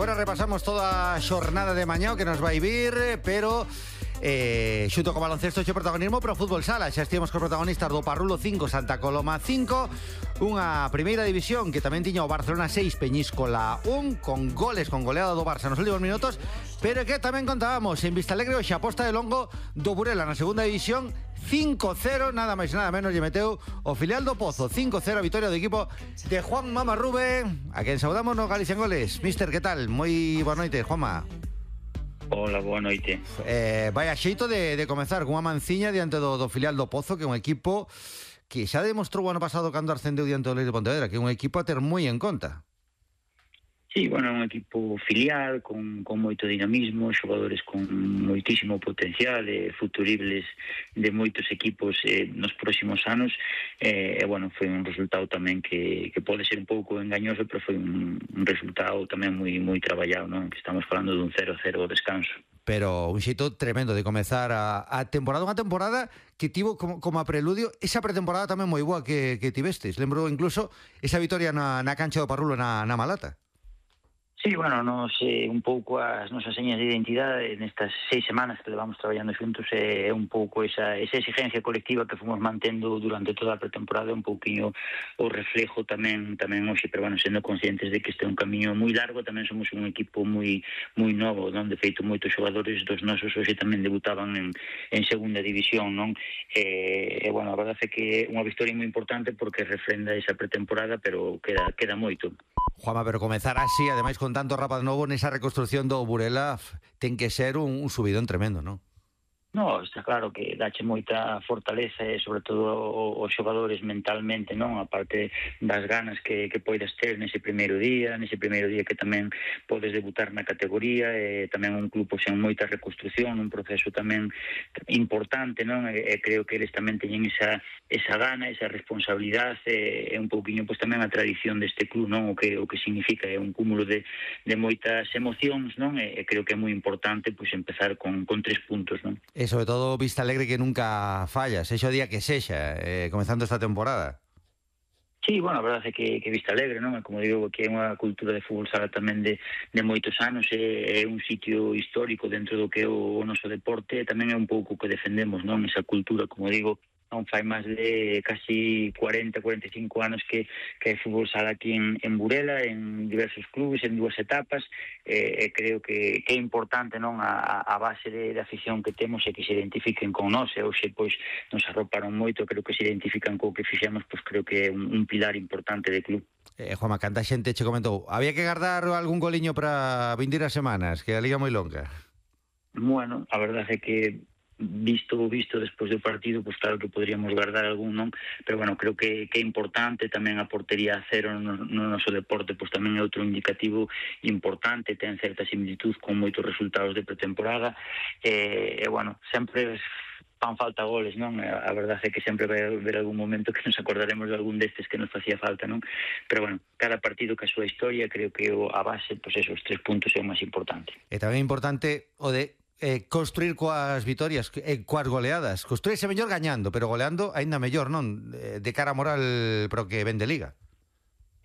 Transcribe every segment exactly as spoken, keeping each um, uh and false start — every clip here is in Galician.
Agora repasamos toda a xornada de mañá que nos vai vir, pero eh, xunto co baloncesto xe protagonismo pro fútbol sala. Xa estivemos cos protagonistas do Parrulo cinco, Santa Coloma cinco, unha primeira división que tamén tiña o Barcelona seis, Peñíscola un, con goles, con goleada do Barça nos últimos minutos, pero que tamén contábamos en Vistalegre hoxe a posta de longo do Burela na segunda división, cinco cero, nada máis nada menos, lle meteu o filial do Pozo, cinco cero a vitória do equipo de Juan Mama Rube, a quen saudamos no Galicia en Goles. Mister, que tal? Moi boa noite, Juanma. Hola, boa noite. Eh, vai a xeito de, de comezar cunha manciña diante do, do filial do Pozo, que é un equipo que xa demostrou o ano pasado cando ascendeu diante do Leire de Pontevedra, que é un equipo a ter moi en conta. Sí, bueno, un equipo filial con, con moito dinamismo, xogadores con moitísimo potencial, eh, futuribles de moitos equipos eh, nos próximos anos, e eh, bueno, foi un resultado tamén que, que pode ser un pouco engañoso, pero foi un, un resultado tamén moi moi traballado, non? Que estamos falando dun cero cero descanso. Pero un xeito tremendo de comezar a, a temporada, unha temporada que tivo como, como a preludio esa pretemporada tamén moi boa que, que tivestes. Lembro incluso esa vitoria na, na cancha do Parrulo na, na Malata. Sí, bueno, nos eh, un pouco as nosas señas de identidade nestas seis semanas que levamos traballando xuntos é eh, un pouco esa, esa exigencia colectiva que fomos mantendo durante toda a pretemporada, un pouquinho o reflejo tamén tamén hoxe, pero bueno, sendo conscientes de que este é un camiño moi largo, tamén somos un equipo moi moi novo, non? De feito, moitos xogadores dos nosos hoxe tamén debutaban en, en segunda división, non? E, e bueno, a verdade é que é unha victoria moi importante porque refrenda esa pretemporada, pero queda, queda moito. Juanma, pero comezar así, ademais con tanto rapaz novo nesa reconstrucción do Burela, ten que ser un, un subidón tremendo, non? No, está claro que dache moita fortaleza e sobre todo os xogadores mentalmente, non? A parte das ganas que, que poidas ter nese primeiro día, nese primeiro día que tamén podes debutar na categoría, e tamén un club sen moita reconstrucción, un proceso tamén importante, non? E, e creo que eles tamén teñen esa, esa gana, esa responsabilidade, e, e un pouquiño pois tamén a tradición deste club, non? O que o que significa é un cúmulo de, de moitas emocións, non? E, e creo que é moi importante pois empezar con, con tres puntos, non? E sobre todo Vistalegre, que nunca falla, sexa o día que sexa, eh, comezando esta temporada. Sí, bueno, a verdade é que, que Vistalegre, non? Como digo, que é unha cultura de fútbol sala tamén de, de moitos anos, é, é un sitio histórico dentro do que é o, o noso deporte, e tamén é un pouco que defendemos, non? Esa cultura, como digo, non fai máis de casi cuarenta, cuarenta e cinco anos que, que hai fútbol sala aquí en, en Burela, en diversos clubes, en dúas etapas, e, e creo que, que é importante, non? A, a base de, de afición que temos é que se identifiquen con nós, e hoxe pois nos arroparon moito, creo que se identifican co que fixemos, pois creo que é un, un pilar importante de club. Eh, Juanma, canta xente che comentou, había que guardar algún goliño para vindeiras semanas, que a liga moi longa. Bueno, a verdade é que visto o visto despois do partido, pois claro que poderíamos guardar algún, non? Pero bueno, creo que, que é importante tamén a portería a cero no, no noso deporte, pois tamén é outro indicativo importante, ten certa similitud con moitos resultados de pretemporada, e, e bueno, sempre fan falta goles, non? A verdade é que sempre vai haber algún momento que nos acordaremos de algún destes que nos facía falta, non? Pero bueno, cada partido que a súa historia, creo que a base, pois esos tres puntos é o máis importante. E tamén é importante o de Eh, construir coas vitorias, eh, coas goleadas. Construirse mellor gañando, pero goleando aínda mellor, non? Eh, de cara a moral pro que ven de Liga.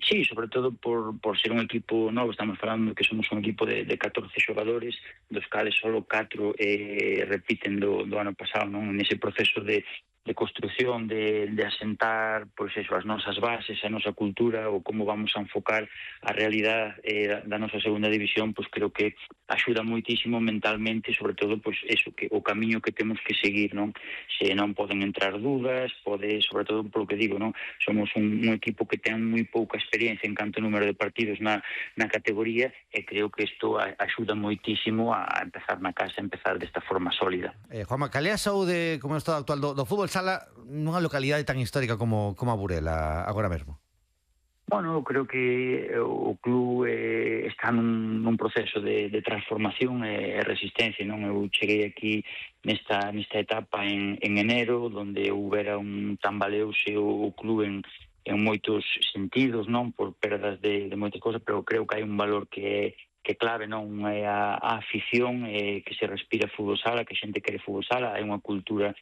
Sí, sobre todo por, por ser un equipo novo. Estamos falando que somos un equipo de, de catorce xogadores, dos cales solo catro eh, repiten do, do ano pasado, non? Nese proceso de de construción, de, de asentar pois eso, as nosas bases, a nosa cultura, ou como vamos a enfocar a realidade eh, da, da nosa segunda división, pois creo que axuda moitísimo mentalmente, sobre todo pois eso, que o camiño que temos que seguir, non? Se non poden entrar dudas, pode, sobre todo polo que digo, non? Somos un, un equipo que ten moi pouca experiencia en canto número de partidos na, na categoría, e creo que isto a, axuda moitísimo a, a empezar na casa, a empezar desta forma sólida. Eh, Juanma, cal é a saúde, como é o estado actual do, do fútbol sala nunha localidade tan histórica como, como a Burela agora mesmo? Bueno, eu creo que o club eh, está nun, nun proceso de, de transformación e resistencia, non? Eu cheguei aquí nesta, nesta etapa en, en enero, onde houbera un tambaleuse o, o club en, en moitos sentidos, non? Por perdas de, de moitas cosas, pero creo que hai un valor que é que clave, non? É a, a afición, eh, que se respira fútbol sala, que a xente quere fútbol sala, hai unha cultura